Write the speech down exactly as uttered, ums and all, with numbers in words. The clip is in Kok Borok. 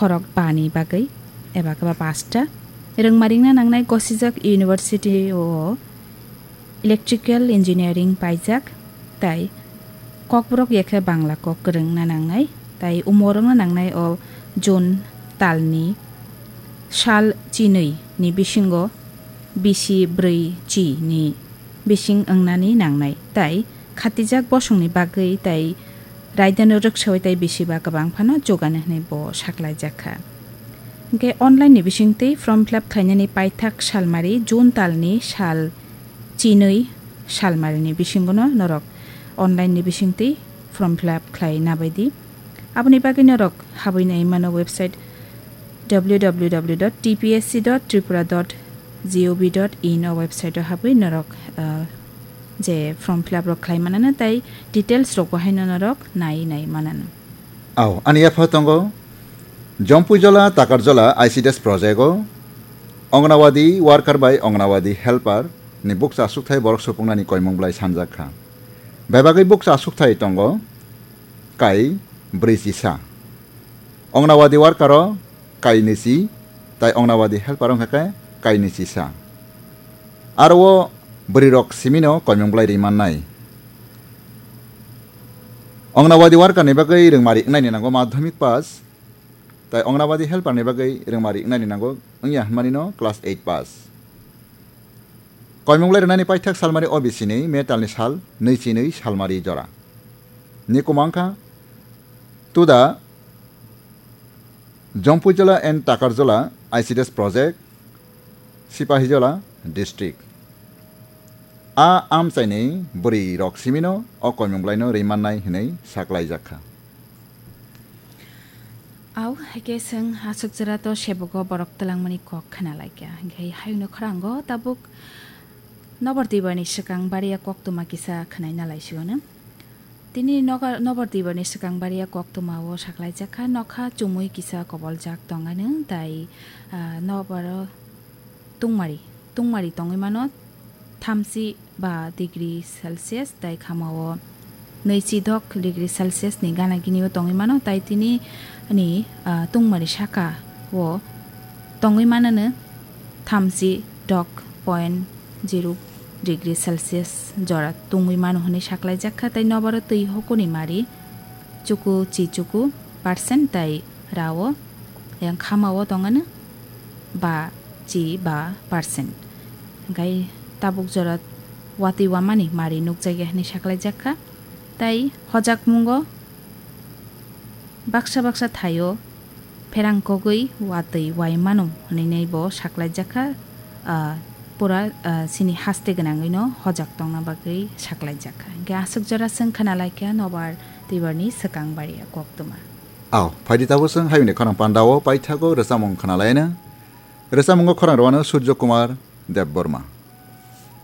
khorok bani bagwi eba khe ba pasta. Rwngmarikna nangnai gosijak university o electrical engineering paijak, tai kokborok ya khe Bangla kok kwrwngna nangnai, tai umorokna nangnai o June talni sal chinwi ni bisingo bisi brwi chi ni bising wngnani nangnai, tai khatijak bosongni bagwi tai raidano rwksawi tai bisi ba kwbang phano jogani hwnwi bo saklaijak kha. Hwnkhe online ni bisingtwi form fill up khlainani paithak salmari June talni sal chinwi salmarini bisingono norok online ni bisingtwi form fill up khlai nabaidi. Aboni bagwi norok habwi nai mano website w w w dot t p s c dot tripura dot g o v dot in o website o habwi norok, ah, je form fill up rok khlai manano tai details rok bo haino norok nai nai manano. Au, ani yapha tongo Jompuijola Takarjola I C D S project o Anganwadi worker bai Anganwadi helper ni bukcha asukthai borok supungnani koimung blai sanjak kha. Bebagwi bukcha asukthai tongo kai brwi chisa. Anganwadi worker o kai nisi, tai Anganwadi helper wngkha khe kai nisi sa. Aro o bwrwi rok simino koimung blai ri mannai. Anganwadi worker ni bagwi rwngmari wngnaini nango madhyamik pass, tai Anganwadi helper ni bagwi rwngmari wngnaini nango wngya hwnmani no class eight pass. Koimung lai rwnani paithak salmari O B C ni metal ni sal nui chi nui salmari jora. Ni kumang kha Tuda, Jompuijola and Takarjola I C D S project, Sipahijola district. A amchaini bwrwi rok simino o koimung blaino rimannai hinui saklaijak kha. Au, haikhe chwng aswk jora to sebogo borok twlangmani kok khna laikha. Hinkhe hayungno khorang o tabuk nobar twibani swkang bariya koktwma kisa khnaina laisio no. Tini nobar twibani swkang bariya koktwma o saklaijak kha, nokha chumui kisa koboljak tongano, tai, ah, nobar o tungmari, tungmari tongwi mano thamchi ba degree Celsius, tai khama o nui chi dok degree Celsius ni gana gini o tongwi mano, tai tini ni, ah, tungmari saka o tongwi manano thamchi dok point zero degree Celsius jora tungwi mano hwnwi saklaijak kha, tai nobaro twi hokoni mari chuku chi chuku percent tai rao yang khama o tongano ba chi ba percent. Hingkhai tabuk jora watwi wamani mari nukjakya hwnwi saklaijak kha, tai hojakmungo baksa baksa thaio pherang kogwi watwi wai mano hwnwi bo saklaijak kha, ah, pura, ah, chini haste gwnangwino hojak tongna bagwi saklaijak kha. Hingkhe aswk jora chwng khna laikha nobar twibarni swkang bariya koktwma. Au, phaidi tabuk chwng hayungni khorang pandao paithago rwchapmung khna laina. Rwchapmungo khorang rwano Surjo Kumar Debbarma.